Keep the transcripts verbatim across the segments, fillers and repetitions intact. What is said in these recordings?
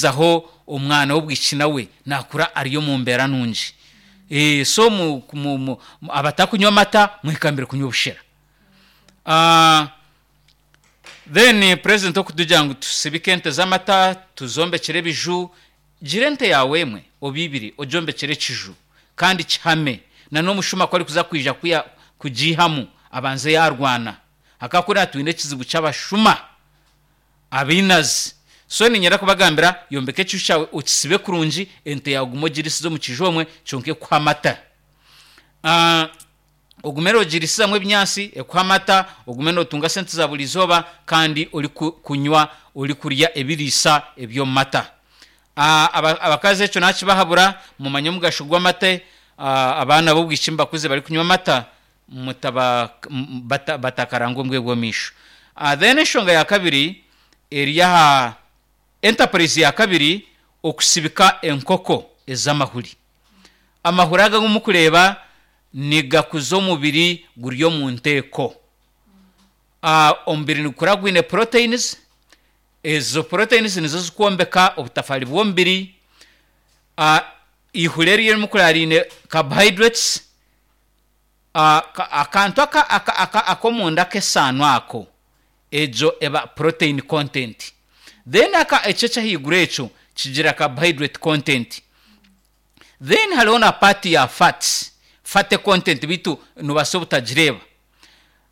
Zaho omwana w'obwishiki nawe nakura ari omu mbeera nungi. Eh, so mu, mu, mu, abatakunywa amata mwekambire kunywa obushera. Ah, then president okutugira ngu tusibike ente z'amata tuzombekere ebiju, gira ente yawe emwe oba ibiri ogyombekere ekiju kandi kihame na n'omushuma ku arikuza kwija kuya kugiihamu abanze yaarwana. Hakakuriya twine ekizibu ky'abashuma abainazi. So niinyenda kubagambira yombeka ekiju kyawe okisibe kurungi ente yaawe ogume ogirisize omu kiju omwe kyonka ekuhe amata. Ah, ogume noogirisizamu ebinyaatsi ekuhe amata, ogume nootunga sente za buri izooba kandi orikunywa orikurya ebiriisa eby'omu mata. Ah, aba- abakazi ekyo naakibahabura mumanye omugasho gw'amata, ah, abaana b'obwishiki mubakuze barikunywa amata mutaba m- bata batakarangwa omu bwire bw'omumaisho. Ah, then enshonga ya kabiri eri aha enterprise ya kabiri okusibika enkoko ez'amahuri. Amahuri aga agu mukureeba nigakuza omubiri guri omu nteeko. Ah, omubiri nigukura gwine proteins, ezo proteins nizo zikwombeka obutafaari bw'omubiri. Ah, ihuri eri erimukureba riine carbohydrates, ah, ka- akantu aka aka aka ak'omunda ak'esaano ako egyo eba protein content. Then aka ekyo eky'ahaiguru ekyo kigira carbohydrate content. Then hariho na part ya fats, fatty content beitu noobaasa obutagireeba.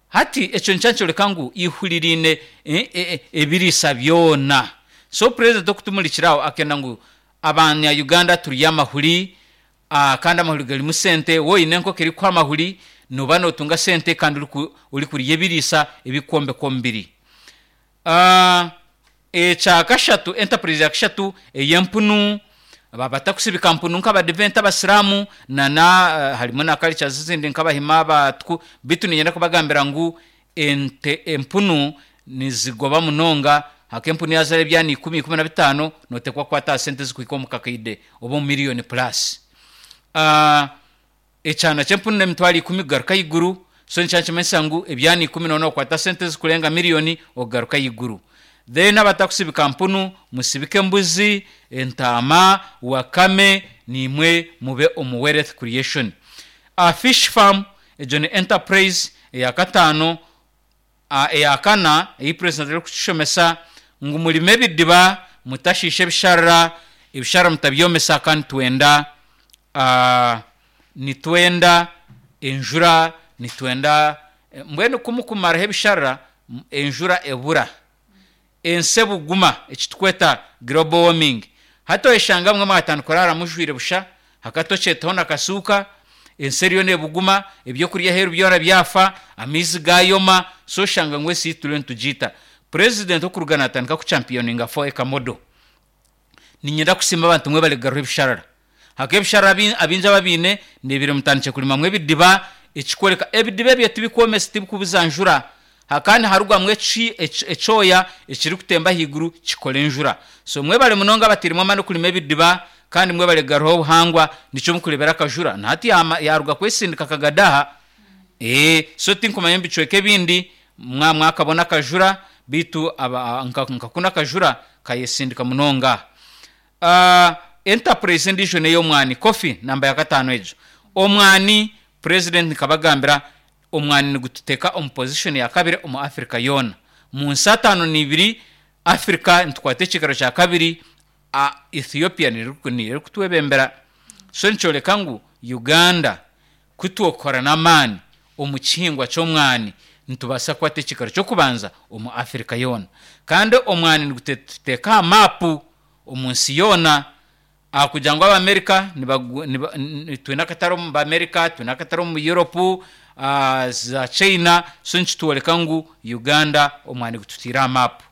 Hati ekyo nikyo nikyoreka ngu ihuri riine e- e- ebiriisa byona. So president okutumurikira aho akenda ngu abanya Uganda turye amahuri ah, kandi amahuri garimu sente, waaba oine enkoko erikuha amahuri nooba nootunga sente kandi oriku orikurya ebiriisa ebikwombeka omubiri. Ah, ekya kashatu enterprise ya kashatu ey'empunu, aba batakusibika mpunu nk'abadiventi abasiraamu na na harimu na cultures ezindi nk'abahima abatku beitu niinyenda kubagambira ngu ente empunu nizigoba munonga haka empunu yaazaara ebyana ikumi, ikumi na bitaano nooteekwa kukwata aha sente ezikuhika omu kakaide oba omu million plus. Ah, ekyana ky'empunu n'emitwaro ikumi kugaruka ahaiguru so nikyo nikimanyisa ngu ebyana ikumi nooba nookwata sente ezikurenga million okugaruka ahaiguru. Then abatakusibika mpunu musibike embuzi, entaama, wakame niimwe mube omu wealth creation. Ah, fish farm egyo ni enterprise eya kataano, ah, eya kana ei president arikutushomesa ngu murime ebidiba mutashiisha ebisharara, ebisharara mutabyomesa kandi nitwenda ah, nitwenda enjura nitwenda mbwenu kumukumaraho ebisharara enjura ebura ensi ebuguma ekitukweta global warming. Hati oyeshanga mwe mwatandika kuraara mujwaire busha hakati okyetaho na kasuuka ensi eriyo neebuguma ebyokurya aheeru byona byafa amaizi gaayoma so oshanga ngu ensi yaitu turiyo nitugiita. President okuruga naatandika kuchampioninga four acre model, niinyenda kusiima abantu mwebare kugaruha ebisharara. Haka ebisharara abi- abaingi ababiine ndeebire mutandikire kurimamu ebidiba ekikworeka ebidiba ebyo tibikwomesa tibikubuza njura hakandi niharugwamu eki eki ekyoya ekirikutemba ahaiguru kikora enjura. So mwebare munonga abatairemu amaani okurima ebidiba kandi mwebare kugaruha obuhangwa nikyo mukureebera akajura na hati yaama yaaruga kwesindika akagadaha ee so tinkumanya omu bicweka ebindi mwa mwakabona akajura beitu aba nka nka kunu akajura kayesindika munonga. Ah, enterprise endiijo n'ey'omwani coffee namba ya kataano egyo. Omwani president nkabagambira omwani nigututeeka omu position ya kabiri omu Africa yoona. Mu nsi ataano n'ibiri Africa nitukwata ekiikaro kya kabiri, ah, Ethiopia niyo niyo erikutwebembera. So nikyoreka ngu Uganda kutwokora n'amaani omu kihingwa ky'omwani nitubaasa kukwata ekiikaro ky'okubanza omu Africa yoona. Kandi omwani nigututeeka aha maapu omu nsi yoona aha kugira ngu Abamerika nibagu niba twine akatare omu Bamerika, twine akatare omu Europe, ah, za China so nikitworeka ngu Uganda omwani gututaire aha maapu.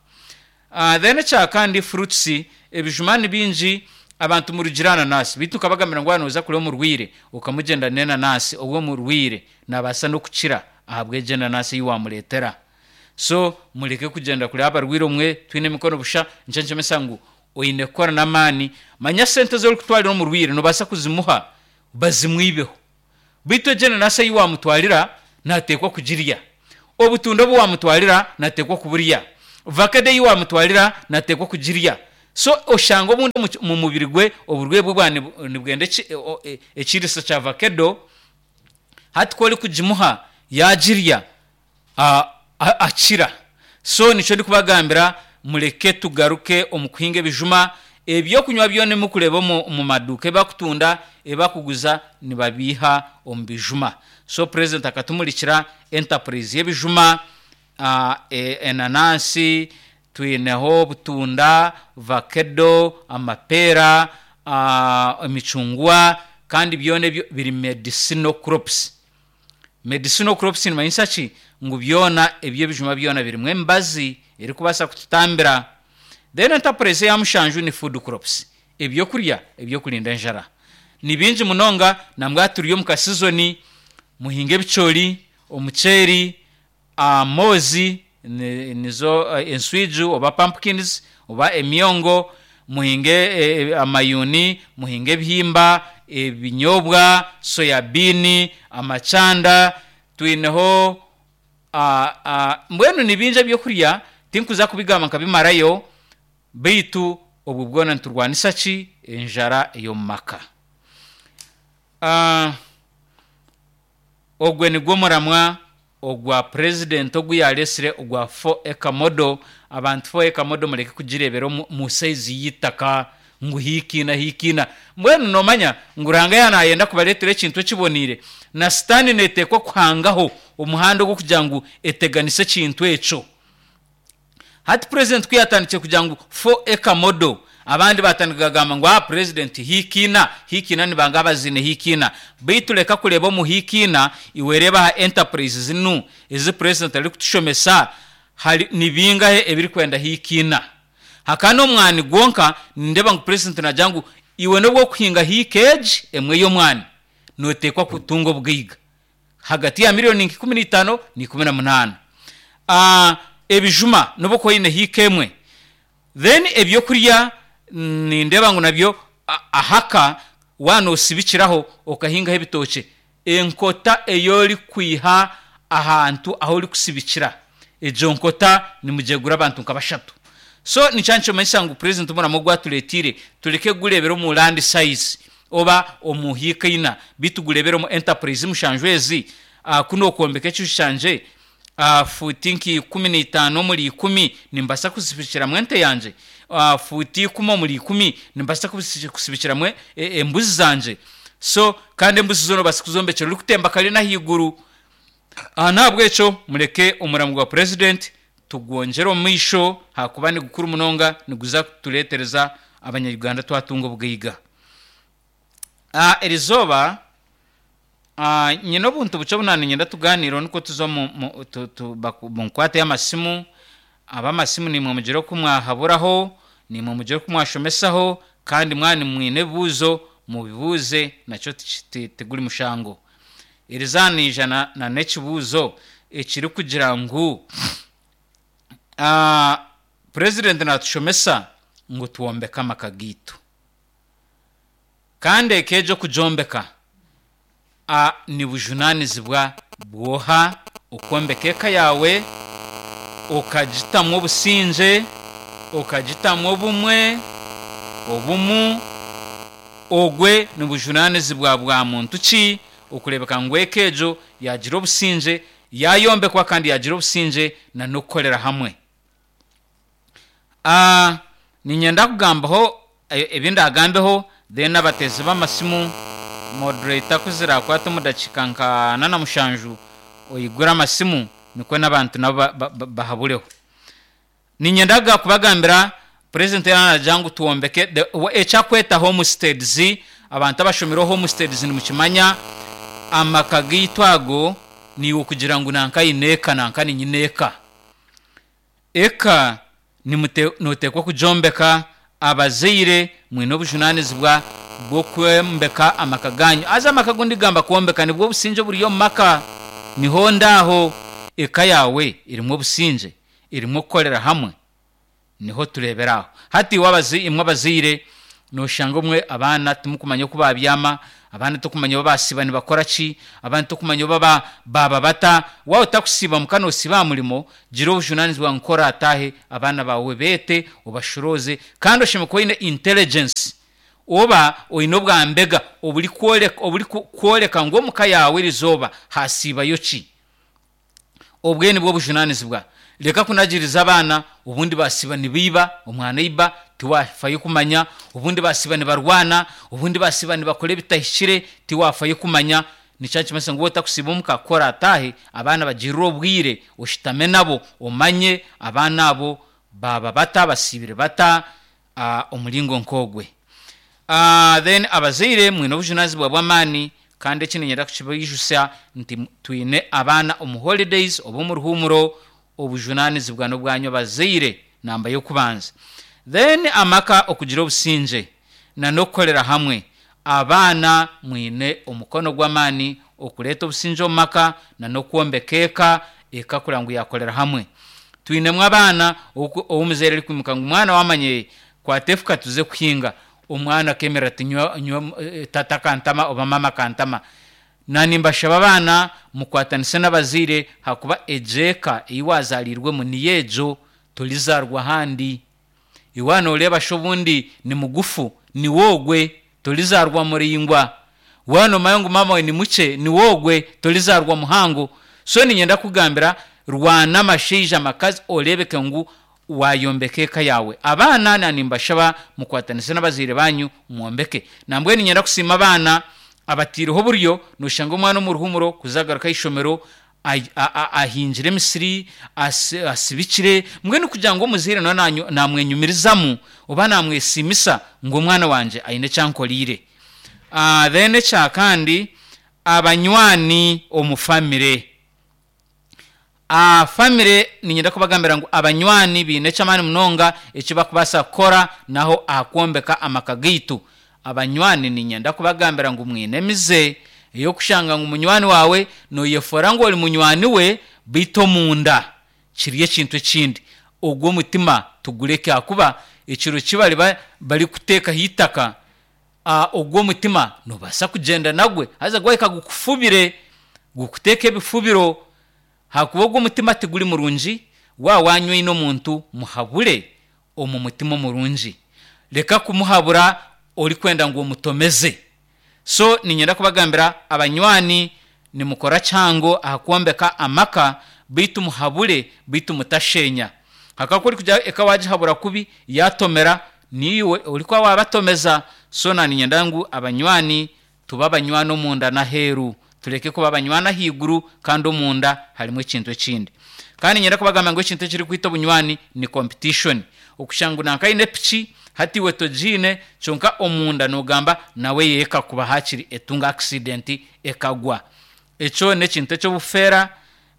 Ah, then ekyakandi fruits ebijuma ni bingi abantu murugire aha nanasi beitu nkabagambira ngu waaba nooza kureba omurwaire okamugyenda n'enanasi obwe omurwaire naabaasa n'okukira ahabw'egyo enanasi ei waamureetera. So mureke kugyenda kureba abarwaire omwe twine emikono busha nikyo nikimanyisa ngu oine kukora n'amaani manya sente ezi orikutwarira omurwaire noobaasa kuzimuha bazimwibeho beitu egyo enanasi ei waamutwarira naateekwa kugirya, obutunda obu waamutwarira naateekwa kuburya, vakedo ei waamutwarira naateekwa kugirya. So oshanga obundi omu- mu mubiri gwe oburwaire bwe bwa nibu- nibwenda eki- o- e- ekiriisa kya vakedo. Hati ku orikugimuha yagirya, a- a- akira. So nikyo ndikubagambira, mureke tugaruke omu kuhinga ebijuma. Ebyokunywa byona ebimukureeba omu omu maduuka ebakutunda, ebakuguza, nibabiiha omu bijuma. So president akatumurikira enterprise y'ebijuma, ah, e- enanansi, twineho obutunda, vakedo, amapeera, ah, emicungwa, kandi byona ebyo biri medicinal crops. Medicinal crops nimanyisa ki? Ngu byona eby'ebijuma byona birimu emibazi erikubaasa kututambira. Then enterprise eya mushanju ni food crops, ebyokurya ebyokurinda enjara. Ni bingi munonga. Nambwa turi omu kasizoni, muhinge ebicoori, omuceeri, amoozi, ni- nizo eh, enswiju oba pumpkins oba emyongo, muhinge eh, eh, amayuni, muhinge ebihimba, ebinyobwa, soya bean, amacanda, twineho ah, ah, mbwenu ni bingi ebyokurya, tinkuza kubigamba nkabimarayo. Beitu obwo bwona niturwanisa ki? Enjara ey'omu maka. Ah, ogwe nigwo muramwa ogwa president ogu yaresire ogwa four acre model. Abantu, four acre model mureke kugirebera omu mu size y'itaka ngu hikiina hikiina. Mbwenu nomanya ngu Ruhanga yanayenda kubareetera ekintu ekiboniire, na sitaani neeteekwa kuhangaho omuhanda ogw'okugira ngu eteganise ekintu ekyo. Hati president ku yatandikire kugira ngu four acre model, abandi batandika kugamba ngu ah, president, hikiina hikiina, nibanga abaziine hikiina. Beitu reka kureeba omu hikiina, iwe reeba aha enterprise zinu ezi president arikutushomesa, hari ni bingahe ebirikwenda hikiina? Hakaba n'omwani gwonka. Nindeeba ngu president nagira ngu iwe n'obwokuhinga hiika egi emwe y'omwani, noteekwa kutunga obugaiga hagati ya miliyoni nka ikumi n'itaano na ikumi na munaana. Ah, ebijuma nobu okuba oine hiika emwe. Then ebyokurya nindeeba ngu nabyo a- ahaka wanosibikiraho okahingaho ebitookye, enkota ey'orikwiha ahantu ahu orikusibikira, egyo nkota nimugyegura abantu nka bashatu. So nikyo nikimanyisa ngu president omuramo ogwatureetiire tureke kugureebera omu land size oba omu hiika ina, beitu gureebere omu enterprise mushanju ezi. uh, kuno okwombeka ekiju kyangye uh, fuuti nka ikumi n'itaano omuri ikumi, nimbaasa kusibikiramu ente yangye. uh, fuuti ikumi omuri ikumi, nimbaasa kusi- kusibikiramu e- embuzi zangye. So kandi embuzi zoona obaasa kuzombekyera orikutemba kare n'ahaiguru. Aha nahabwekyo mureke omuramo gwa president tugwongyere omu maisho, hakuba ni gukuru munonga, niguza kutureetereza abanyayuganda twatunga obugaiga. Ah, erizooba ah, nyine obuntu bukye obu niinyenda tuganireho, nikwo tuze omu mu- tu- tu- baku- munkwate amasimu. Ab'amasimu nimwe mugire oku mwahaburaho, nimwe mugire oku mwashomesaho, kandi mwani mwine ebibuuzo mubibuuze, nakyo tiki- ti- tiguri mushango. Eriza niija na n'ekibuuzo ekirikugira ngu ah, president natushomesa ngu twombeke amaka gaitu, kandi eka egyo okugyombeka ah, ni bujunaanizibwa bwoha okwombeka eka yawe, okagitamu obusingye, okagitamu obumwe, obumu? Ogwe ni bujunaanizibwa bwa muntu ki okureebeka ngu eka egyo yagira obusingye, yayombekwa kandi yagira obusingye na n'okukorera hamwe? Ah, niinyenda kugambaho e- ebi ndagambeho, then abateezi b'amasimu, moderator, kuzirakwata omu dakiika nka ana na mushanju oyigure amasimu, nikwo n'abantu nabo ba- ba- ba- bahabureho. Niinyenda kubagambira president yaragira ngu twombeke the- wa- ekyakweta homesteads. Abantu abashomireho homesteads nimukimanya. Amaka gaitu ago niiwe kugira ngu nanka aine eka, nanka ninyine eka. Eka nimute- noteekwa kugyombeka. Abazaire mwine obujunaanizibwa bw'okwombeka amaka ganyu. Haza amaka agu ndigamba kwombeka nibwo obusingye oburi omu maka. Niho ndaaho eka yawe erimu obusingye, erimu okukorera hamwe, niho tureebera aho. Hati iwe abazi- imwe abazaire Noshanga omwe abaana timukumanya oku babyama, abaana tokumanya oba basiiba nibakora ki, abaana tokumanya oba ba- baaba bata. Waaba otakusiiba muka noosiiba aha murimo, gira obujunanizibwa nka oraataahe abaana baawe beete, obashorooze, kandi oshemereire kuba oine intelligence oba oine obwambega oburikworeka oburikworeka ngu omuka yaawe erizooba hasiibayo ki. Obwe nibwo bujunanizibwa. Reka kunagiriza abaana, obundi basiiba nibaiba, omwana aiba tiwafayo kumanya, obundi basiiba nibarwana, obundi basiiba nibakora ebitahikire tiwafayo kumanya. Nikyo nikimanyisa ngu waaba otakusiiba omuka ku oraataahe abaana bagirire obwire oshutame nabo omanye abaana abo baaba bata, basiibire bata, ah, omuringo nk'ogwe. Ah, then abazaire mwine obujunanizibwa bw'amaani, kandi eki niinyenda kukibaijusya nti twine abaana omu holidays oba omu ruhuumuro, obujunanizibwa n'obwanyu abazaire namba y'okubanza. Then amaka okugira obusingye nan'okukorera hamwe. Abaana mwine omukono gw'amaani okureeta obusingye omu maka nan'okwombeka eka, eka kureba ngu yaakorera hamwe. Twinemu abaana ou omuzaire arikwimuka ngu mwana waamanya kwata efuka tuze kuhinga, omwana akeemerera ati nyowe nyowe tata akantama oba maama akantama. Naanimbashaba abaana mukwatanise n'abazaire ahakuba egyo eka ei waazaariirwemu niyo egyo, torizaarwa ahandi. Iwe waaba nooreeba shi obundi ni mugufu, niwe ogwe, torizaarwa muraingwa. Waaba noomanya ngu maama waawe ni mukye, niwe ogwe, torizaarwa muhango. So niinyenda kukugambira rwana amashaija amakazi oreebeke ngu waayombeka eka yaawe. Abaana naanimbashaba mukwatanise n'abazaire banyu mwombeke. Nambwenu niinyenda kusiima abaana abataireho oburyo, nooshanga omwana omu ruhuumuro kuza agaruka aha ishomero ai- a- a- ahingire emisiri, asi- asibikire, mbwenu kugira ngu omuzaire nawe nanyu- naamwenyumirizamu oba naamwesiimisa ngu omwana wangye aine eki ankoriire. Ah, then ekya kandi abanywani omu famire. Ah, famire niinyenda kubagambira ngu abanywani baine eky'amaani munonga eki bakubaasa kukora naho aha kwombeka amaka gaitu. Abanywani niinyenda kubagambira ngu mwine emize ey'okushanga ngu munywani waawe nooyefoora ngu ori munywani we beitu omunda kiri ekintu ekindi. Ogwo omutima tugureke ahakuba ekiro ki bariba barikuteekaho eitaka, ah, ogwo omutima noobaasa kugyenda nagwe haza gwahika gukufubire, gukuteeke ebifubiro ahakuba ogwo omutima tiguri murungi. Waaba wanywaine omuntu muhabure omu mutima omurungi. Reka kumuhabura orikwenda ngu omutomeze. So niinyenda kubagambira abanywani nimukora kihango aha kwombeka amaka beitu muhabure beitu mutashenya. Ahakuba ku orikugira eka waagihabura kubi yaatomera, niiwe orikuba waabatomeza. So naaniinyenda ngu abanywani tube abanywani omunda n'aheeru, tureke kuba abanywani ahaiguru kandi omunda harimu ekintu ekindi. Kandi niinyenda kubagambira ngu ekintu ekirikwita obunywani ni competition. Okushanga ngu nanka aine piki hati iwe togiine kyonka omunda noogamba nawe eye ekakuba haakiri etunga accident ekagwa. Ekyo n'ekintu eky'obufeera,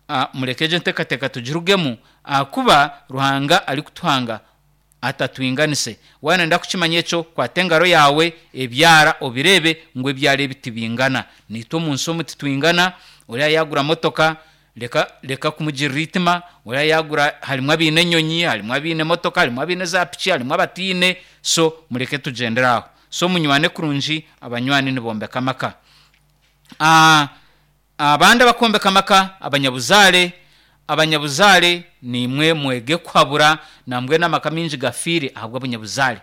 ah, mureke egyo enteekateeka tugirugemu ahakuba Ruhanga arikutuhanga atatwinganise. Waaba nooyenda kukimanya ekyo, kwata engaro yaawe ebyara obireebe ngu ebyara ebi tibingana. Naitwe omu nsi omu titwingana, oriya yaagura motoka reka reka kumugirira eitima, oriya yaagura harimu abaine enyonyi, harimu abaine emotoka, harimu abaine zaapiki, harimu abataine, so mureke tugyendere aho. So munywane kurungi, abanywani nibombeka amaka. Ah, abandi abakwombeka amaka abanyabuzaare, abanyabuzaare niimwe mwege kuhabura nambwenu amaka maingi gafiire ahabw'abanyabuzaare.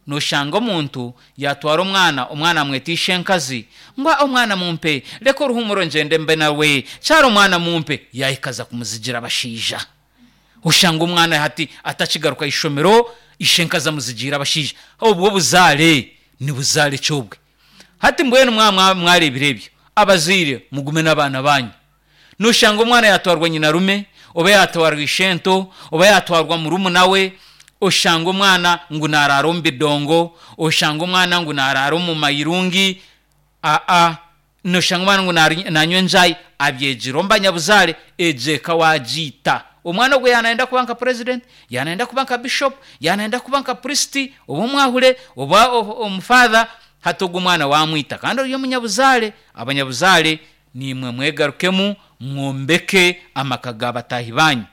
Nooshanga omuntu yaatwara omwana, omwana amweta ishenkazi, ngu omwana mumpe, reka oruhuumuro ngyende mbe nawe, kyara omwana mumpe, yaahika aza kumuzigira abashaija. Oshanga omwana hati atakigaruka aha ishomero, ishenkazi amuzigiire abashaija. Obwo obuzaare ni buzaare ki obwe? Hati mbwenu mwaba mwareebire ebyo, abazaire mugume n'abaana baanyu. Nooshanga omwana yaatwarwa nyinarume, oba yaatwarwa ishento, oba yaatwarwa murumuna we, oshanga omwana ngu naaraara omu bidongo, oshanga omwana ngu naaraara omu mayirungi, aa, nooshanga omwana ngu naanywa enjaayi, abyegire omu banyabuzaare, egyo eka waagiita. Omwana ogwo yaaba naayenda kuba nka president, yaaba naayenda kuba nka bishop, yaaba naayenda kuba nka priest, oba omwahure, oba omufather, hati ogwo omwana waamwita kandi ori omunyabuzaare. Abanyabuzaare niimwe mwegarukemu mwombeke amaka ga bataahi baanyu.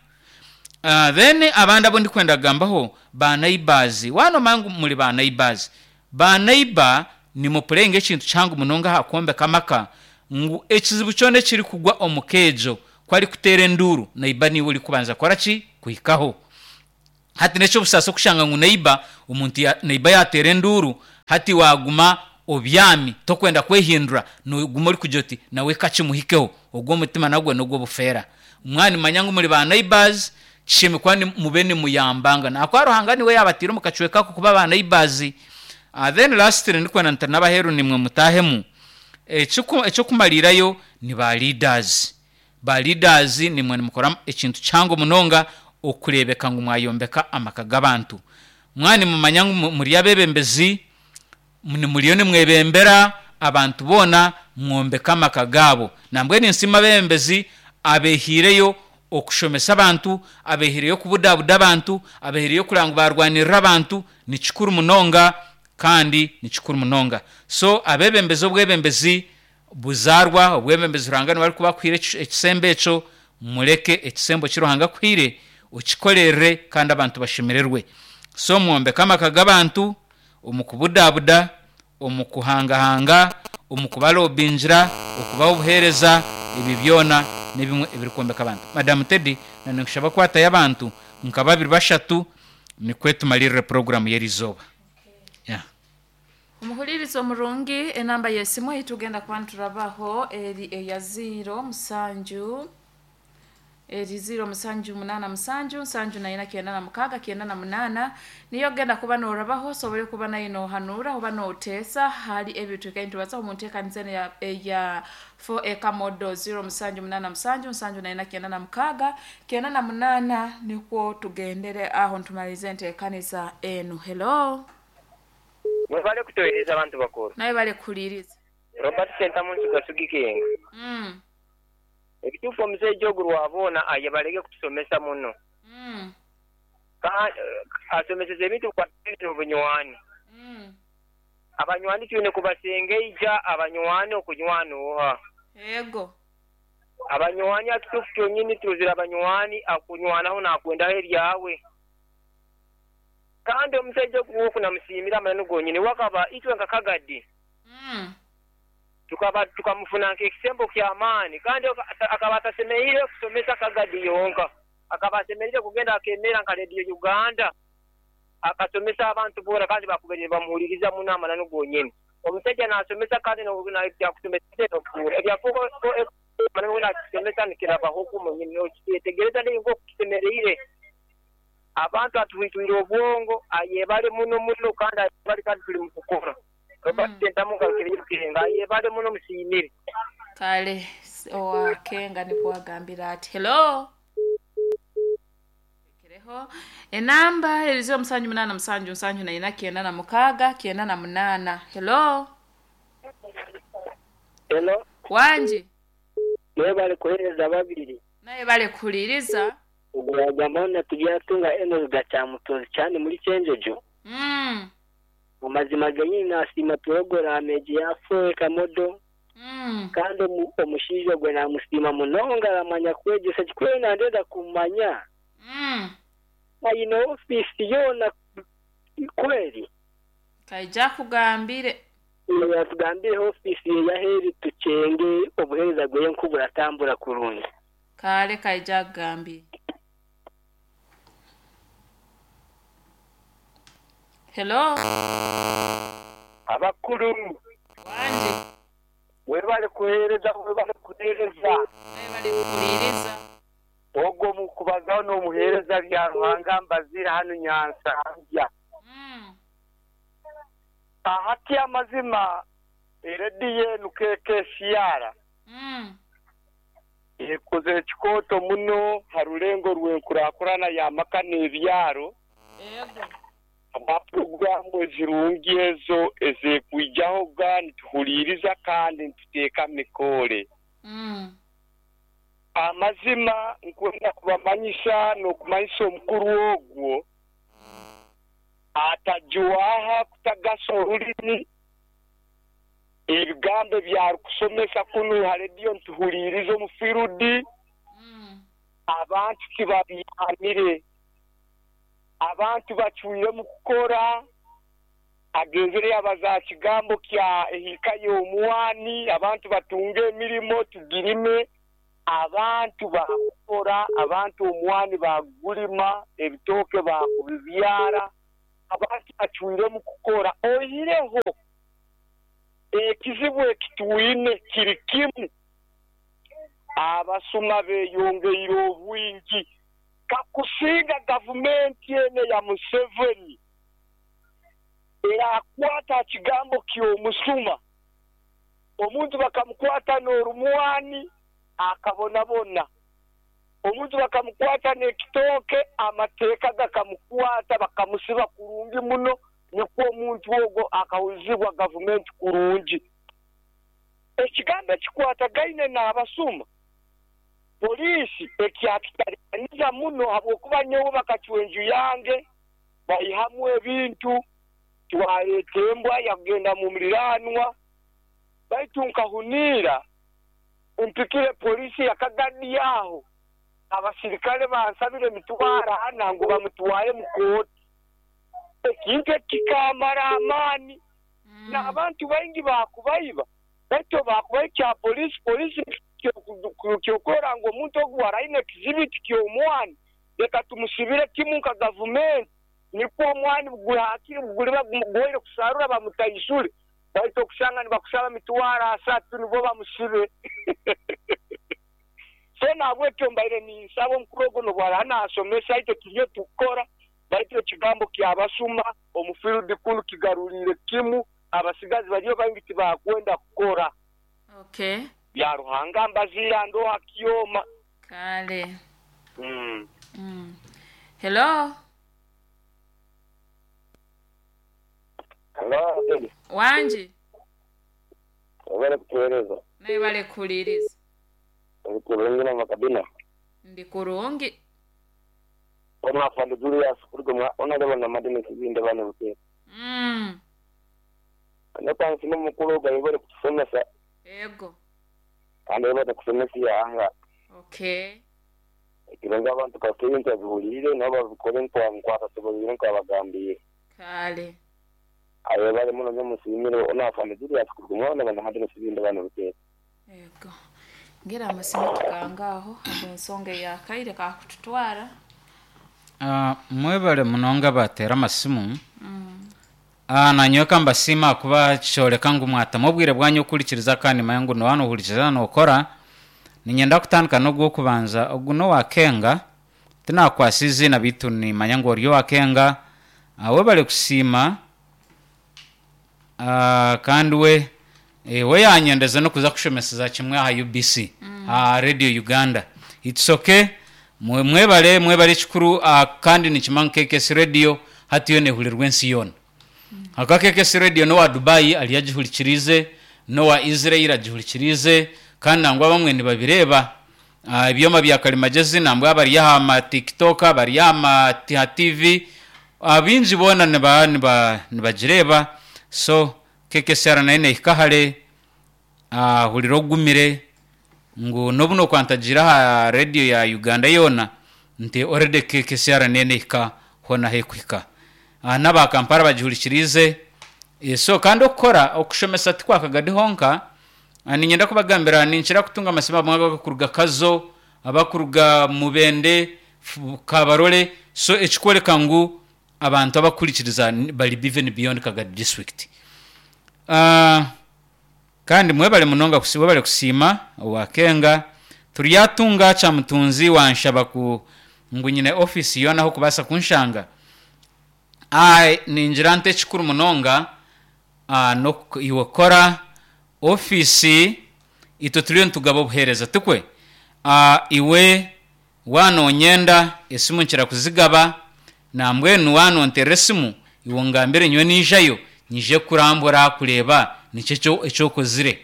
Ah, then abandi abu ndikwenda kugambaho ba neighbours. Waaba noomanya ngu muri ba neighbours, Banaiba nimupurenga ekintu kihango munonga aha kwombeka amaka, ngu ekizibu kyona ekirikugwa omu keejo ku arikuteera enduuru, naiba niiwe orikubanza kukora ki? Kuhikaho. Hati n'eky'obusaasi okushanga ngu naiba omuntu ya, naiba yateera enduuru, hati waguma obyami tokwenda kwehindura, noguma orikugira oti nawe kakimuhikeho. Ogwo omutima nagwo n'ogw'obufeera. Mwaba nimumanya ngu muri ba neighbors, kishemeriire kuba mube nimuyambangana ahakuba Ruhanga niwe yaabataire omu kacweka ako kuba ba neighbors. Uh, then lastly, ndikwenda nti n'abaheeru nimwe mutaahemu. Eky'okumariirayo ni ba leaders. Ba leaders nimwe nimukora ekintu kihango munonga okureebeka ngu mwayombeka amaka g'abantu. Mwaba nimumanya ngu muri abeebembezi, muriyo nimwebembera abantu boona, mwombeke amaka gaabo. Nambwenu ninsiima abeebembezi abeehaireyo okushomesa abantu, abeehaireyo okubudabuda abantu, abeehaireyo kureba ngu baarwanirira abantu, ni kikuru munonga kandi ni kikuru munonga. So abeebembezi obwebembezi buzaarwa, obwebembezi Ruhanga niwe arikuba akuhaire ekisembo ekyo, mureke ekisembo eki Ruhanga akuhaire okikorerere kandi abantu bashemererwe. So mwombeke amaka g'abantu omu kubudabuda, omu kuhangahanga, omu kubarobingira, okubaha obuheereza, ebyo byona n'ebimwe ebirikwombeka abantu. Madam Teddy, ninkushaba kwatayo abantu nka babiri bashatu nikwo tumalirire puroguramu y'erizooba. Yeah. Omuhuliriza omurungi, enamba y'esimu ei tugenda kuba niturabaho eri eya ziro musanju, eri ziro musanju munaana musanju nsanju na ina kyenda na mukaaga kyenda na munaana, niyo ogenda kuba noorabaho osobole kuba nayo noohanuura oba nooteesa hali ebi twikaire nitubazaho omu nteekaniza enu eya eya four acre model. Ziro musanju munaana musanju nsanju na ina kyenda na mukaaga kyenda na munaana, nikwo tugendere aho nitumaliriza enteekaniza enu. Hello. Mwebale kutohereza abantu bakuru. Nawe bale kuhuliriza. Robert Sentamu Nsuga Sugikenga. Mm. Ekituufu omushaija ogu rwaboona aye baleke kutusomesa muno. Mm. Ka- asomeseza ebintu bikwatiraine obunywani. Mm. Abanywani twine kubasengeija, abanywani okunywana oha? Ego. Abanywani akituufu kyonyini turuzire abanywani akunywanaho nakwendaho ebyawe. Kandi omushaija ogu woku namusiimira amananu gonyini wakaba itwe nka Kagadi Mm. tukaba tukamufuna nk'ekisembo ky'amaani, kandi aka- akaba atasemereire kusomesa Kagadi yonka, akaba asemereire kugenda akemera nka Radio Uganda akasomesa abantu boona, kandi bakubaire nibamuhuliriza muno amananu gonyini. Omushaija naasomesa kandi ebyakusomesa ebyakuba nakusomesa nikirabaho munyini nokyetegereza nk'oku kisemereire. Abantu atuhwitwire obwongo, ayebale muno muno, kandi ayebale, kandi tuli mu kukora. Robert Sentamu ngarukire ayebale muno, musiimire. Kale owakenga nikwo agambira ati hello. Kereho enamba eri ziro musanju munaana musanju nsanju na ina kyenda na mukaaga kyenda na munaana. Hello. Hello. Wangi. Mwebale kuhereza babiri. Naye bale kuhuliriza. Ogwagamba natubyatunga Enos Gacyamutozi cyane muri Cyenjojo. Mm. Mu mazima genyini nasiima porogaramu egi ya four acre model. Mm. Kandi omu- omushaija gwe namusiima munonga, aramanya kwegyesa kikuru nandenda kumanya. Mm. Ayine ofiisi yoona kweri? Kaija kugambire. Yatugambire ofiisi ye yaheeri tukyenge obuheereza bweye nkuburatambura kurungi. Kale kaija kugambire. Hello. Abakuru. Wangi. Webale kuhereza, webale kuhereza. Naye bale kuhuliriza. Ogwo mukubazaho n'omuheereza bya Ruhanga mbazira hano Nyansanzya. Mm. Ahati amazima erediyo enu K K C R Mm. ekoze ekikooto muno ha rulengo rw'enkurakurana y'amaka n'ebyaro. Ego. Amapuroguramu ezirungi ezo ezekwijaho ga nituhuliriza kandi nituteeka mikoore. Mm. Amazima nkwenda kubamanyisa n'okumanyisa omukuru ogwo atajwaha kutagasa orulimi, ebigambo ebyarukusomesa kunu ha rediyo nituhuliriza omu firudi. Mm. Abantu tibabyamire, abantu bacwire mu kukora. Agenzere yabaza kigambo kya ehika y'omwani, abantu batunge emirimo tugirime, abantu bakora, abantu omwani bagulima, ebitooke bakubibyara, abantu bacwiremu kukora. Oihireho ekizibu ekitwine kiri kimu, abasuma beyongeire obwingi. Kakusinga gavumenti ene ya Museveni erakwata kigambo ky'omusuma, omuntu bakamukwata n'orumwani akabonabona, omuntu bakamukwata n'ekitooke amateeka gakamukwata bakamusiba kurungi muno, nikwo omuntu ogwo akahuzibwa gavumenti kurungi. Ekigambo ekikwatagaine n'abasuma, poliisi ekyakitaliza muno habwokuba nyowe bakacwa enju yange baihamu ebintu, twaleeta embwa yagenda mu muliranwa, baitu nkahuniira mpikire poliisi yakagadi aho, abasirikale bansabire emitwaro ana ngu bamutware mu kooti. Ekintu ekikamara amaani, n'abantu baingi bakubaiba, baitu bakubaho kya poliisi, poliisi kyokora ngu omuntu ogu araine ekizibiti ky'omwani, reka tumusibire kimu nka gavumenti, nikwo omwani guhakire guliba guwaire kusarura bamutaisule, baitu okusanga nibakusaba mitwaro asatu nibo bamusibe. So nabwekyo mbaire ninsaba omukuru ogwo nobwara nasomesa itwe turiyo tukukora, baitu ekigambo kyabasuma omu field kunu kigaruriire kimu, abasigazi bariyo baingi tibakwenda kukora. Okay. Bya Ruhanga mbaziira ndoha kyoma. Kale. Mm. Mm. Hello. Hello. Wanji. Obale kutueleza. Naye bale kuliriza. Kurungi na makabina. Ndi kurungi. Ona afande Julius kuruga ona leba na madini kizinde bana buke. Mm. Nyoka nsimu mukuru gayibole kutusomesa. Ego. Kandi baba kusomesa ya anga. Okay. Ekirenga abantu kakinta bihulire nabo babikore nkwa nkwata tubolire nkwa bagambiye. Kale. Ayo bale muno nyomusimire ona afande Julius kuruga ona na madini kizinde bana buke. Ego. Ngira amasimu tukangaho ensonga ya kaire kakututwara. Uh, mwebale munonga batera amasimu. Mm. Ah, nanyoka mbasima kuba kyoleka ngu mwatamu obwire bwanyu okuhurikiriza kandi manya ngu nohano ohurikiriza nokora. Ninyenda kutandika n'ogwokubanza ogu nowakenga tinakwasa izina bitu nimanya ngu ori owakenga. Uh, webale kusiima. Uh, kandi we eh, we yanyendeza nokuza kushomeseza kimwe aha U B C, mm. aha Radio Uganda. It's okay. Mwe mwebale mwebale kikuru, uh, kandi nikimanya K K S Radio hati yo nehurirwa ensi yoona. Mm. Aka K K S Radio no wa Dubai ali yagihurikirize, no wa Israel agihurikirize, kandi nangwa bamwe nibabireba. Uh, ebyoma bya kalimagezi nambwa abari aha ma TikTok, abari aha ma T V, abingi bona niba niba nibagireba. So K K S R nine ikahare, uh, huliro ogumire ngu nobuno kwantagira ha radio ya Uganda yona nti already K K S R nine ika hona hekwika. Uh, naba Kampala bagihurikirize. E, so kandi okukora okushomesa tikwakagadi honka. Uh, ninyenda kubagambira ninkira kutunga amasima bamwe kuruga Kazo, abakuruga Mubende, Kabarole. So ekikwoleka ngu abantu abakurikiriza bali even beyond Kagadi district. Uh, kandi mwebale munonga kusiba bale kusiima owakenga turyatunga cha mutunzi wanshaba ku ngu nyine office yona ho kubasa kunshanga. Ai ninjira nte kikuru munonga, uh, no iwokora office ito turiyo ntugaba obuhereza tukwe. Uh, iwe wanonyenda esimu nkira kuzigaba nambwenu wanonterera esimu iwe ngambire nywe nijayo nije kurambura kureba nikyo ekyokozire.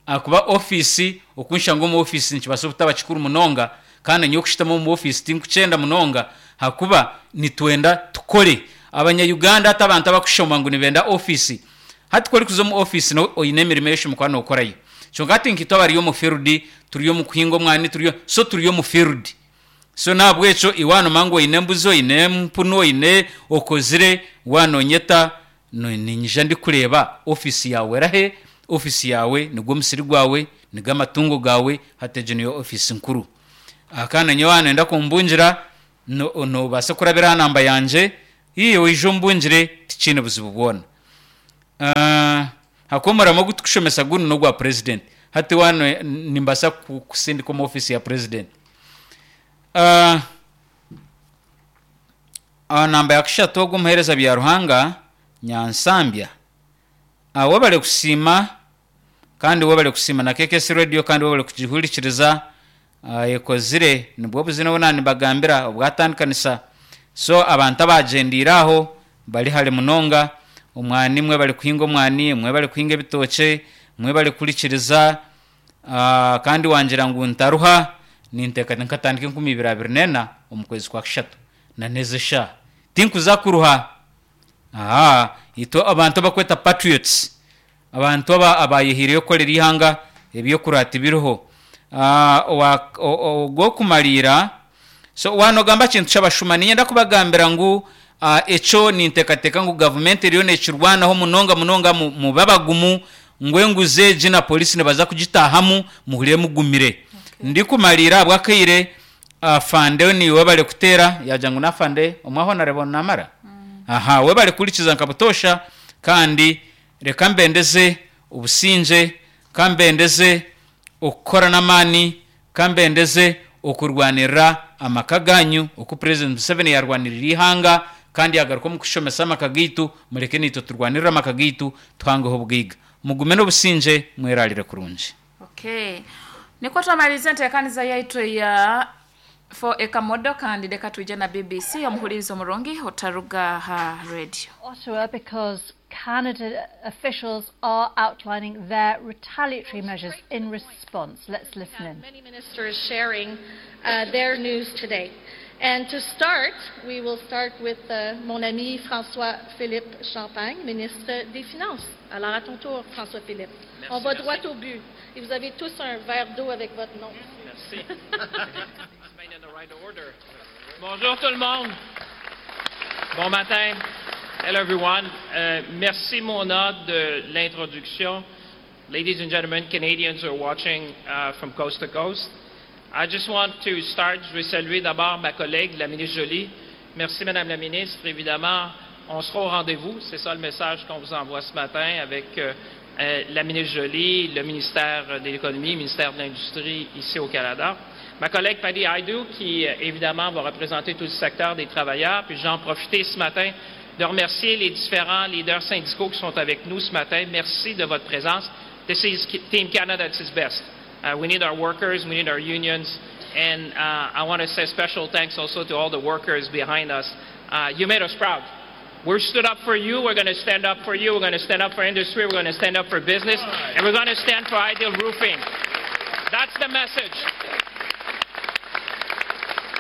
Akuba office okunshanga omu office nikibasa obutaba kikuru munonga, kandi nyowe okushitama omu office tinkukyenda munonga, hakuba nitwenda tukore. Abanya Uganda ati abantu abakushoma ngu nibenda office, hati kori kuza omu office no oyine emirimo ey'oshoma kuba nokorayo. Kyonka hati nkitwe abari omu field, turi omu kuhinga omwani, turiyo so turi omu field. So nabwekyo iwano mangu oyine embuzi, oyine empunu, oyine okozire, wanonyeta Ni- ninyija ndikureeba ofiisi yawe erahe, ofiisi yawe nigwo musiri gwawe, nigo amatungo gawe, hati egyo niyo ofiisi nkuru. Ah, kandi nyowe nenda kumbungira, no- nobaasa kurabira aha namba yangye, iye oije ombungire, tikiine buzibu bwona. Ah, hakuba omurimo ogu tukushomesa gunu n'ogwa president. Hati wano nimbaasa ku- kusindika omu ofiisi ya president. Ah, aha namba ya kushatu ogu omuheereza bya Ruhanga Nyansambya. Ah, webale kusiima, kandi webale kusiima na K K S Radio, kandi webale kugihurikiriza. Ah, ekozire nibwo buzina obu nibagambira obwatandikanisa. So abantu abagyendeire aho bari hare munonga, omwani mwe bari kuhinga omwani, mwe bari kuhinga ebitookye, mwe bari kurikiriza. Ah, kandi wangira ngu ntaruha, ninteeka nkatandika enkumi ibiri abiri nena omu kwezi kwa kushatu na neza eshaaha tinkuza kuruha. Aha itwe abantu abakweta patriots, abantu aba abayehiireyo kukorera ihanga, ebyokurata tibiriho. Ah, owa- o- o- ogw'okumariira, so wanogamba kintu ky'abashuma, ninyenda kubagambira ngu ah, ekyo ninteekateeka ngu gavumenti eriyo nekirwanaho munonga munonga. mu- mube abagumu ngu enguzi egi na polisi nibaza kugitahamu, muhurire mugumire. Ndikumariira ahabw'akaire, afande niwe bari kuteera yagira ngu nafande omwaho nareba namara. Aha we bari kurikiza nka butosha, kandi reka mbendeze obusingye, kambendeze okukora n'amaani, kambendeze okurwanirira amaka ganyu oku President Museveni yarwanirira ihanga kandi yagaruka omu kushomesa amaka gaitu. Mureke naitwe turwanirire amaka gaitu, tuhangeho obugaiga. Mugume n'obusingye, mwerarire kurungi. Okay, niko twamaliza enteekaniza yaitu ya for ekamodo, kandi leka twije na B B C. Omuhuliriza omurungi, otaruga ha radio. Ottawa because Canada officials are outlining their retaliatory measures in response. Let's listen in. Many ministers sharing uh, their news today. And to start, we will start with uh, mon ami François-Philippe Champagne, ministre des Finances. Alors, à ton tour, François-Philippe. On va droit au but. Et vous avez tous un verre d'eau avec votre nom. Merci. In the right order. Bonjour tout le monde. Bon matin. Hello everyone. Euh, merci Mona de l'introduction. Ladies and gentlemen, Canadians are watching uh, from coast to coast. I just want to start. Je vais saluer d'abord ma collègue, la ministre Joly. Merci Madame la ministre. Évidemment, on sera au rendez-vous. C'est ça le message qu'on vous envoie ce matin avec euh, euh, la ministre Joly, le ministère de l'Économie, le ministère de l'Industrie ici au Canada. Ma collègue Patty Hajdu, qui euh, évidemment va représenter tout le secteur des travailleurs. Puis j'en profiter ce matin de remercier les différents leaders syndicaux qui sont avec nous ce matin. Merci de votre présence. This is Team Canada at its best. Uh, we need our workers, we need our unions, and uh, I want to say special thanks also to all the workers behind us. Uh, you made us proud. We stood up for you. We're going to stand up for you. We're going to stand up for industry. We're going to stand up for business. And we're going to stand for Ideal Roofing. That's the message.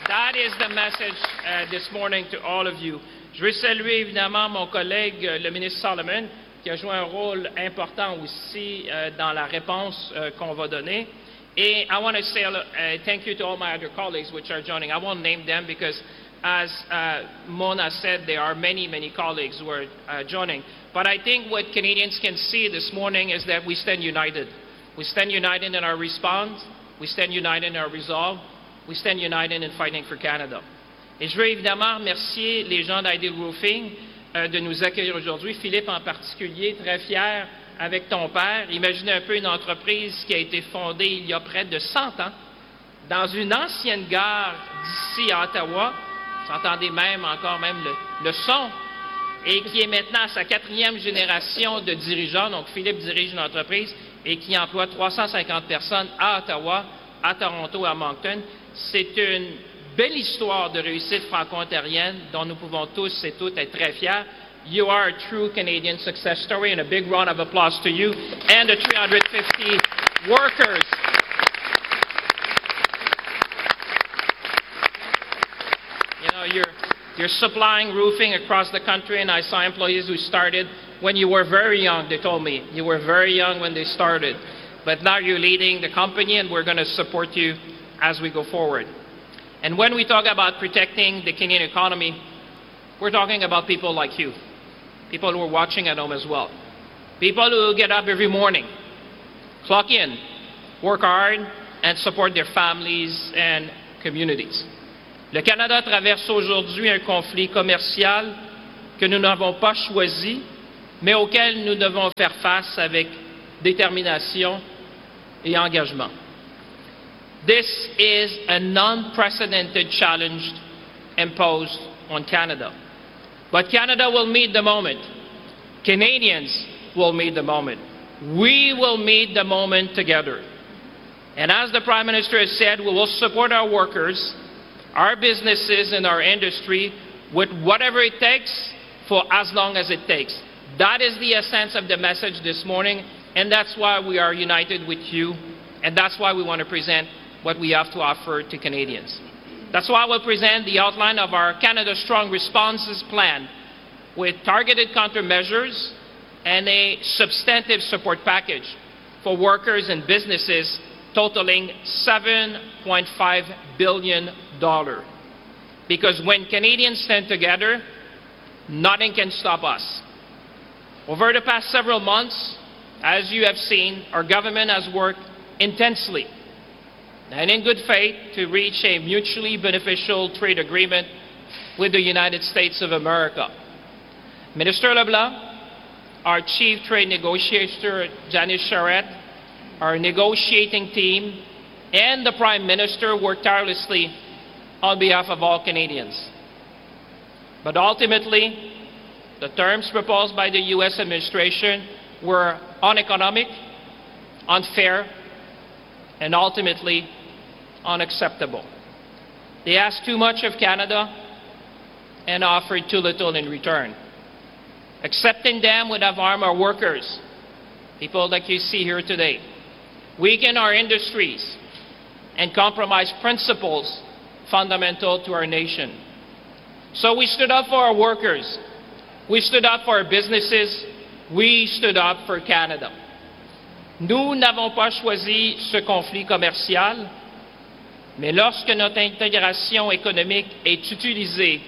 That is the message uh, this morning to all of you. Je veux saluer évidemment mon collègue, euh, le ministre Solomon, qui a joué un rôle important aussi euh, dans la réponse euh, qu'on va donner. Et I want to say uh, thank you to all my other colleagues which are joining. I won't name them because, as uh, Mona said, there are many, many colleagues who are uh, joining. But I think what Canadians can see this morning is that we stand united. We stand united in our response. We stand united in our resolve. We stand united in fighting for Canada. Et je veux évidemment remercier les gens d'Ideal Roofing euh, de nous accueillir aujourd'hui. Philippe en particulier, très fier avec ton père. Imaginez un peu une entreprise qui a été fondée il y a près de cent ans dans une ancienne gare d'ici à Ottawa. Vous entendez même encore même le, le son, et qui est maintenant à sa quatrième génération de dirigeants. Donc, Philippe dirige une entreprise et qui emploie trois cent cinquante personnes à Ottawa, à Toronto et à Moncton. C'est une belle histoire de réussite franco-ontarienne dont nous pouvons tous et toutes être très fiers. You are a true Canadian success story, and a big round of applause to you and the three hundred fifty workers. You know, you're, you're supplying roofing across the country, and I saw employees who started when you were very young, they told me. You were very young when they started. But now you're leading the company, and we're going to support you as we go forward. And when we talk about protecting the Canadian economy, we're talking about people like you. people who are watching at home as well. People who get up every morning, clock in, work hard, and support their families and communities. Le Canada traverse aujourd'hui un conflit commercial que nous n'avons pas choisi, mais auquel nous devons faire face avec détermination et engagement. This is an unprecedented challenge imposed on Canada. But Canada will meet the moment. Canadians will meet the moment. We will meet the moment together. And as the Prime Minister has said, we will support our workers, our businesses, and our industry with whatever it takes for as long as it takes. That is the essence of the message this morning, and that's why we are united with you, and that's why we want to present what we have to offer to Canadians. That's why we'll present the outline of our Canada Strong Responses Plan with targeted countermeasures and a substantive support package for workers and businesses totaling seven point five billion dollars. Because when Canadians stand together, nothing can stop us. Over the past several months, as you have seen, our government has worked intensely and in good faith to reach a mutually beneficial trade agreement with the United States of America. Minister LeBlanc, our chief trade negotiator, Janice Charette, our negotiating team, and the Prime Minister worked tirelessly on behalf of all Canadians. But ultimately, the terms proposed by the U S administration were uneconomic, unfair, and ultimately unacceptable. They asked too much of Canada and offered too little in return. Accepting them would have harmed our workers, people like you see here today, weaken our industries, and compromise principles fundamental to our nation. So we stood up for our workers. We stood up for our businesses. We stood up for Canada. Nous n'avons pas choisi ce conflit commercial, mais lorsque notre intégration économique est utilisée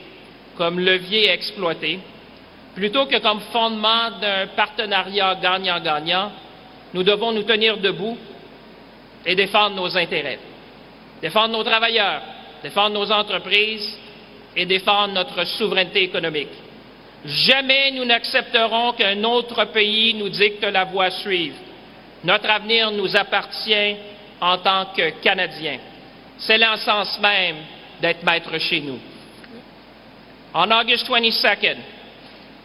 comme levier exploité, plutôt que comme fondement d'un partenariat gagnant-gagnant, nous devons nous tenir debout et défendre nos intérêts, défendre nos travailleurs, défendre nos entreprises et défendre notre souveraineté économique. Jamais nous n'accepterons qu'un autre pays nous dicte la voie à suivre. Notre avenir nous appartient en tant que Canadiens. C'est l'essence même d'être maître chez nous. On August twenty-second,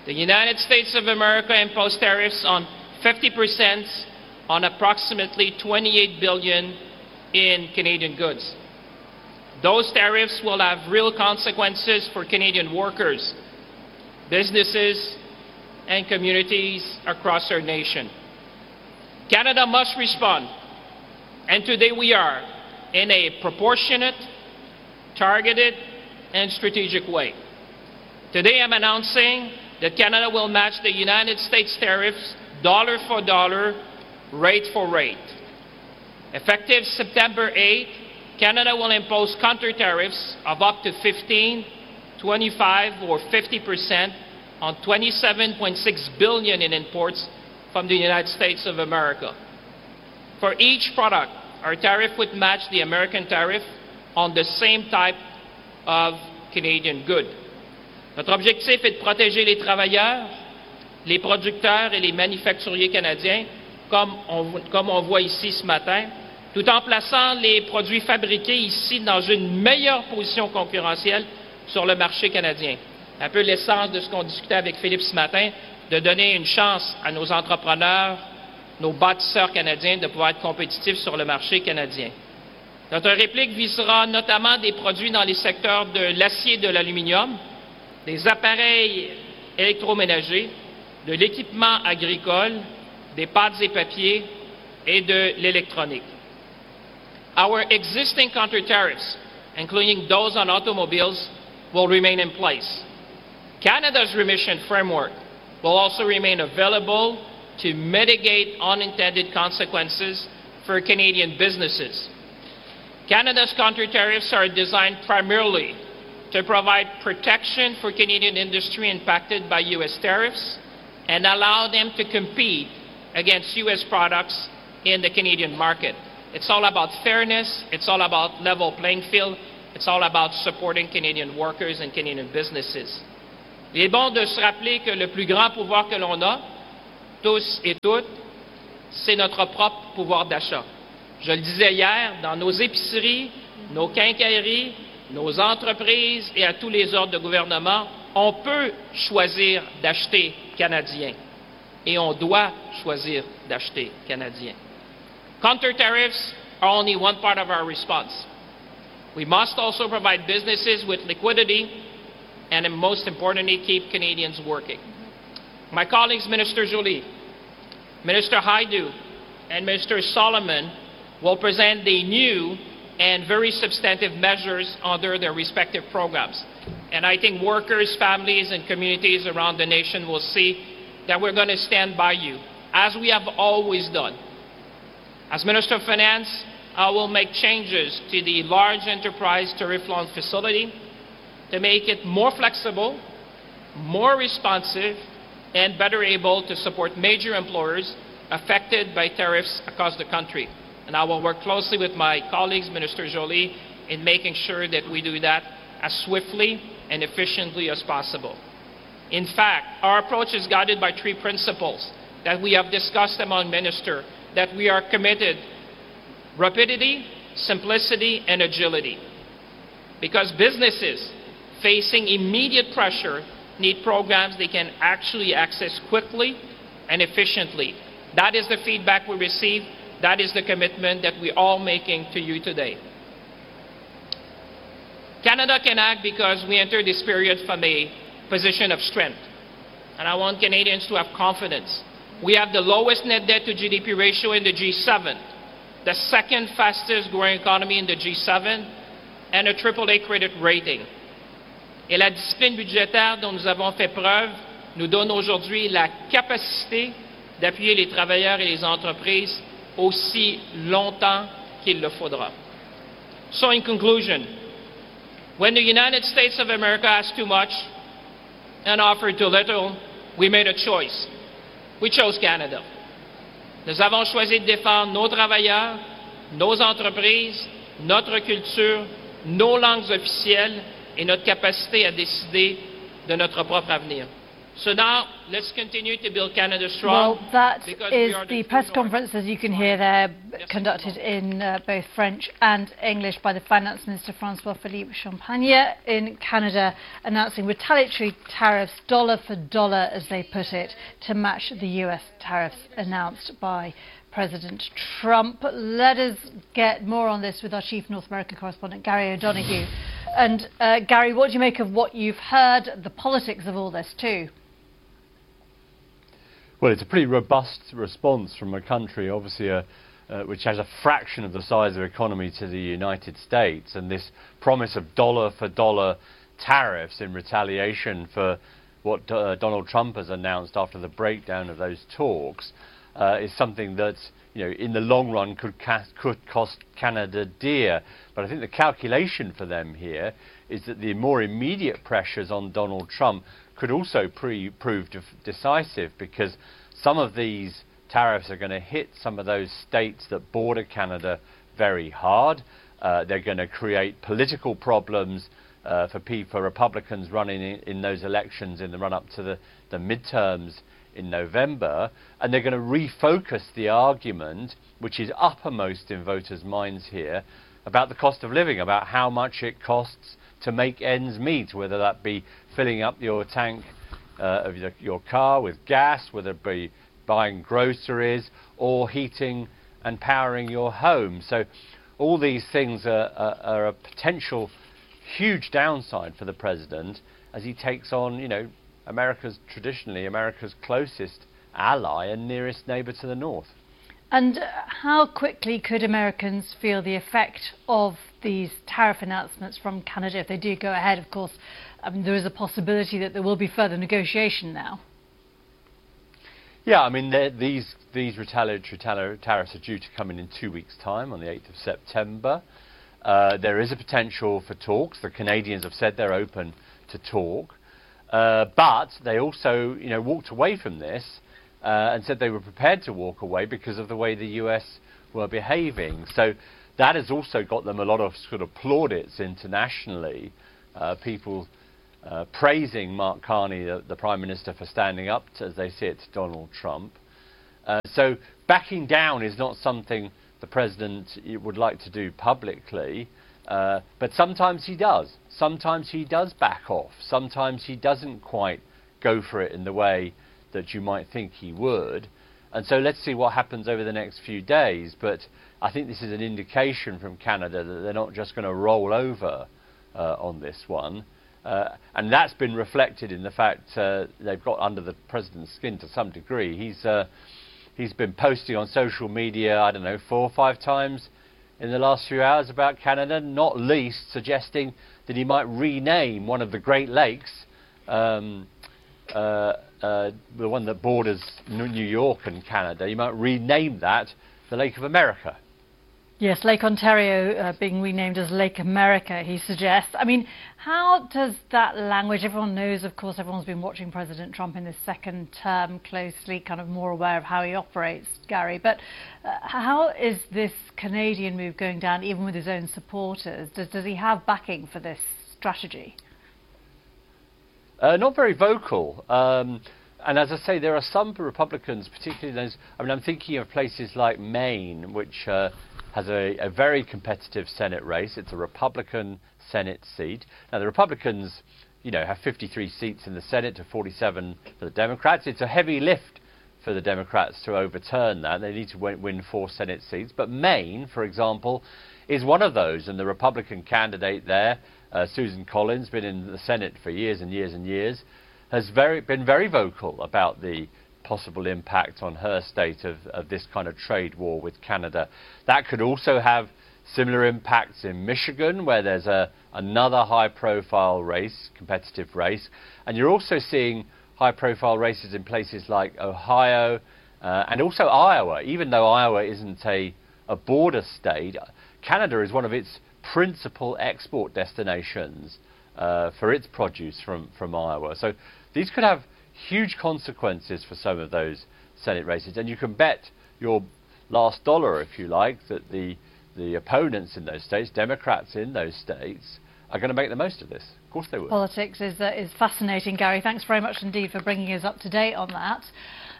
the United States of America imposed tariffs on fifty percent on approximately twenty-eight billion in Canadian goods. Those tariffs will have real consequences for Canadian workers, businesses, and communities across our nation. Canada must respond, and today we are in a proportionate, targeted, and strategic way. Today I'm announcing that Canada will match the United States tariffs dollar for dollar, rate for rate. Effective September eighth, Canada will impose counter tariffs of up to fifteen, twenty-five, or fifty percent on twenty-seven point six billion in imports from the United States of America. For each product, our tariff would match the American tariff on the same type of Canadian good. Notre objectif est de protéger les travailleurs, les producteurs et les manufacturiers canadiens, comme on, comme on voit ici ce matin, tout en plaçant les produits fabriqués ici dans une meilleure position concurrentielle sur le marché canadien. Un peu l'essence de ce qu'on discutait avec Philippe ce matin, de donner une chance à nos entrepreneurs, nos bâtisseurs canadiens de pouvoir être compétitifs sur le marché canadien. Notre réplique visera notamment des produits dans les secteurs de l'acier et de l'aluminium, des appareils électroménagers, de l'équipement agricole, des pâtes et papiers et de l'électronique. Our existing counter tariffs, including those on automobiles, will remain in place. Canada's remission framework will also remain available to mitigate unintended consequences for Canadian businesses. Canada's counter tariffs are designed primarily to provide protection for Canadian industry impacted by U S tariffs. and allow them to compete against U S products in the Canadian market. It's all about fairness. It's all about level playing field. It's all about supporting Canadian workers and Canadian businesses. Il est bon de se rappeler que le plus grand pouvoir que l'on a, tous et toutes, c'est notre propre pouvoir d'achat. Je le disais hier, dans nos épiceries, nos quincailleries, nos entreprises et à tous les ordres de gouvernement, on peut choisir d'acheter canadien et on doit choisir d'acheter canadien. Counter tariffs are only one part of our response. We must also provide businesses with liquidity and, most importantly, keep Canadians working. My colleagues, Minister Joly, Minister Hajdu, and Minister Solomon will present the new and very substantive measures under their respective programs. And I think workers, families, and communities around the nation will see that we're going to stand by you, as we have always done. As Minister of Finance, I will make changes to the large enterprise tariff loan facility to make it more flexible, more responsive, and better able to support major employers affected by tariffs across the country. And I will work closely with my colleagues, Minister Joly, in making sure that we do that as swiftly and efficiently as possible. In fact, our approach is guided by three principles that we have discussed among ministers, that we are committed: rapidity, simplicity, and agility. Because businesses facing immediate pressure need programs they can actually access quickly and efficiently. That is the feedback we receive. That is the commitment that we are all making to you today. Canada can act because we enter this period from a position of strength. And I want Canadians to have confidence. We have the lowest net debt to G D P ratio in the G seven, the second fastest growing economy in the G seven, and a triple A credit rating. Et la discipline budgétaire dont nous avons fait preuve nous donne aujourd'hui la capacité d'appuyer les travailleurs et les entreprises aussi longtemps qu'il le faudra. So in conclusion, when the United States of America asked too much and offered too little, we made a choice. We chose Canada. Nous avons choisi de défendre nos travailleurs, nos entreprises, notre culture, nos langues officielles et notre capacité à décider de notre propre avenir. So now, let's continue to build Canada strong. Well, that because we is are the press conference, as you can hear there, conducted in uh, both French and English by the Finance Minister François-Philippe Champagne in Canada, announcing retaliatory tariffs, dollar for dollar, as they put it, to match the U S tariffs announced by President Trump. Let us get more on this with our chief North America correspondent, Gary O'Donoghue. And uh, Gary, what do you make of what you've heard, the politics of all this too? Well, it's a pretty robust response from a country, obviously, a, uh, which has a fraction of the size of economy to the United States, and this promise of dollar for dollar tariffs in retaliation for what uh, Donald Trump has announced after the breakdown of those talks uh, is something that, you know, in the long run could, could cost Canada dear. But I think the calculation for them here is that the more immediate pressures on Donald Trump could also pre prove decisive, because some of these tariffs are going to hit some of those states that border Canada very hard. Uh, they're going to create political problems uh, for, for Republicans running in, in those elections in the run up to the, the midterms in November, and they're going to refocus the argument, which is uppermost in voters' minds here, about the cost of living, about how much it costs to make ends meet, whether that be filling up your tank uh, of your, your car with gas, whether it be buying groceries or heating and powering your home. So all these things are, are, are a potential huge downside for the president as he takes on, you know, America's traditionally America's closest ally and nearest neighbor to the north. And how quickly could Americans feel the effect of these tariff announcements from Canada if they do go ahead? Of course, I mean, there is a possibility that there will be further negotiation now. Yeah, I mean, these, these retaliatory tariffs are due to come in in two weeks' time, on the eighth of September. Uh, there is a potential for talks. The Canadians have said they're open to talk. Uh, but they also, you know, walked away from this uh, and said they were prepared to walk away because of the way the U S were behaving. So that has also got them a lot of sort of plaudits internationally, uh, people uh, praising Mark Carney, the, the Prime Minister, for standing up, to, as they see it, to Donald Trump. Uh, so backing down is not something the president would like to do publicly, uh, but sometimes he does. Sometimes he does back off. Sometimes he doesn't quite go for it in the way that you might think he would. And so let's see what happens over the next few days. But I think this is an indication from Canada that they're not just gonna roll over, uh, on this one. Uh, and that's been reflected in the fact, uh, they've got under the president's skin to some degree. He's, uh, he's been posting on social media, I don't know, four or five times in the last few hours about Canada, not least suggesting that he might rename one of the Great Lakes, um, uh, uh, the one that borders New York and Canada. He might rename that the Lake of America. Yes, Lake Ontario, uh, being renamed as Lake America, he suggests. I mean, how does that language, everyone knows, of course, everyone's been watching President Trump in this second term closely, kind of more aware of how he operates, Gary, but, uh, how is this Canadian move going down, even with his own supporters? Does, does he have backing for this strategy? Uh, not very vocal. Um, and as I say, there are some Republicans, particularly those, I mean, I'm thinking of places like Maine, which, uh, has a, a very competitive Senate race. It's a Republican Senate seat. Now, the Republicans, you know, have fifty-three seats in the Senate to forty-seven for the Democrats. It's a heavy lift for the Democrats to overturn that. They need to win, win four Senate seats. But Maine, for example, is one of those. And the Republican candidate there, uh, Susan Collins, been in the Senate for years and years and years, has very, been very vocal about the possible impact on her state of, of this kind of trade war with Canada. That could also have similar impacts in Michigan, where there's a, another high-profile race, competitive race. And you're also seeing high-profile races in places like Ohio, uh, and also Iowa. Even though Iowa isn't a, a border state, Canada is one of its principal export destinations, uh, for its produce from, from Iowa. So these could have huge consequences for some of those Senate races. And you can bet your last dollar, if you like, that the, the opponents in those states, Democrats in those states, are gonna make the most of this. Of course they would. Politics is, uh, is fascinating, Gary. Thanks very much indeed for bringing us up to date on that.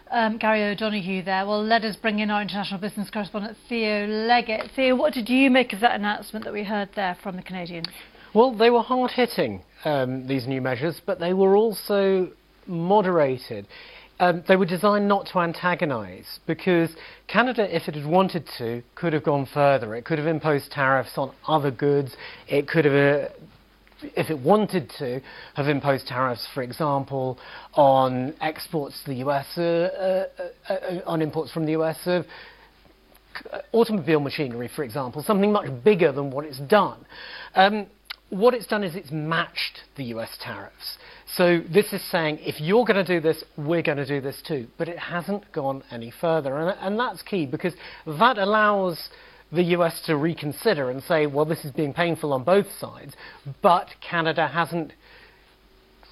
Um, Gary O'Donoghue there. Well, let us bring in our international business correspondent, Theo Leggett. Theo, what did you make of that announcement that we heard there from the Canadians? Well, they were hard-hitting, um, these new measures, but they were also moderated. Um, they were designed not to antagonise, because Canada, if it had wanted to, could have gone further. It could have imposed tariffs on other goods. It could have, uh, if it wanted to, have imposed tariffs, for example, on exports to the U S, uh, uh, uh, uh, on imports from the U S of automobile machinery, for example, something much bigger than what it's done. Um, what it's done is it's matched the U S tariffs. So this is saying, if you're gonna do this, we're gonna do this too. But it hasn't gone any further. And, and that's key, because that allows the U S to reconsider and say, well, this is being painful on both sides, but Canada hasn't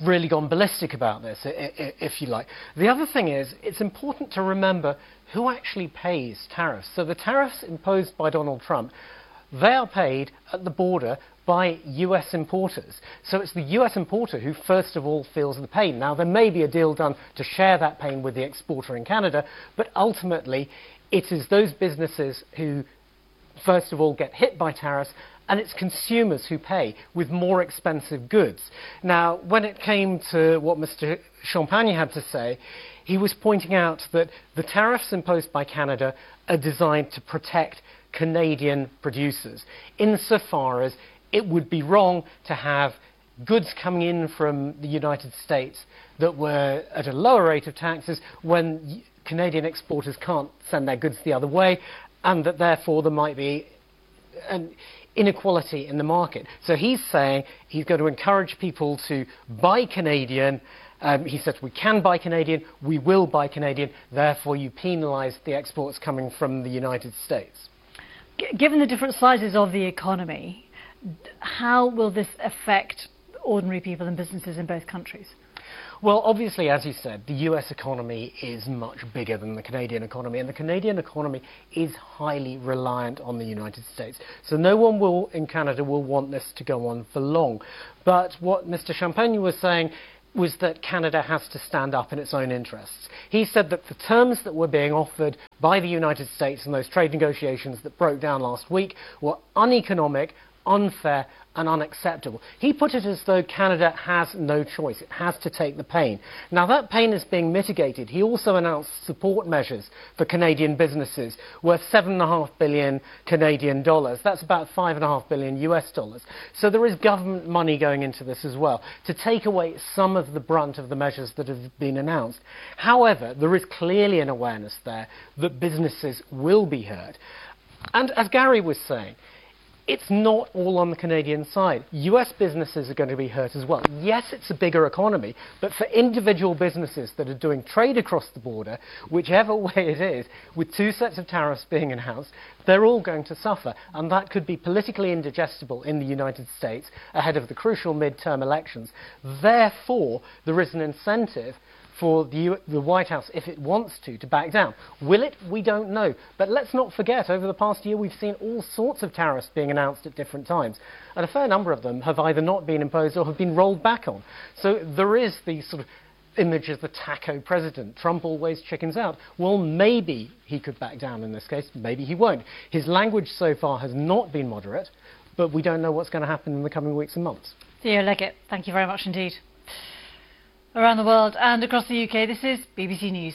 really gone ballistic about this, i-, i-, if you like. The other thing is, it's important to remember who actually pays tariffs. So the tariffs imposed by Donald Trump, they are paid at the border by U S importers. So it's the U S importer who first of all feels the pain. Now, there may be a deal done to share that pain with the exporter in Canada, but ultimately it is those businesses who first of all get hit by tariffs, and it's consumers who pay with more expensive goods. Now, when it came to what Mister Champagne had to say, he was pointing out that the tariffs imposed by Canada are designed to protect Canadian producers, insofar as it would be wrong to have goods coming in from the United States that were at a lower rate of taxes when y-, Canadian exporters can't send their goods the other way, and that therefore there might be an inequality in the market. So he's saying he's going to encourage people to buy Canadian. Um, he said, we can buy Canadian, we will buy Canadian, therefore you penalise the exports coming from the United States. G-, given the different sizes of the economy, d-, how will this affect ordinary people and businesses in both countries? Well, obviously, as you said, the U S economy is much bigger than the Canadian economy, and the Canadian economy is highly reliant on the United States. So no one will in Canada will want this to go on for long. But what Mister Champagne was saying was that Canada has to stand up in its own interests. He said that the terms that were being offered by the United States in those trade negotiations that broke down last week were uneconomic, unfair and unacceptable. He put it as though Canada has no choice. It has to take the pain. Now, that pain is being mitigated. He also announced support measures for Canadian businesses worth seven point five billion Canadian dollars. That's about five point five billion U S dollars. So there is government money going into this as well to take away some of the brunt of the measures that have been announced. However, there is clearly an awareness there that businesses will be hurt. And as Gary was saying, it's not all on the Canadian side. U S businesses are going to be hurt as well. Yes, it's a bigger economy, but for individual businesses that are doing trade across the border, whichever way it is, with two sets of tariffs being announced, they're all going to suffer. And that could be politically indigestible in the United States ahead of the crucial midterm elections. Therefore, there is an incentive for the, U the White House, if it wants to, to back down. Will it? We don't know. But let's not forget, over the past year, we've seen all sorts of tariffs being announced at different times. And a fair number of them have either not been imposed or have been rolled back on. So there is the sort of image of the taco president. Trump always chickens out. Well, maybe he could back down in this case. Maybe he won't. His language so far has not been moderate, but we don't know what's going to happen in the coming weeks and months. Theo Leggett, thank you very much indeed. Around the world and across the U K, this is B B C News.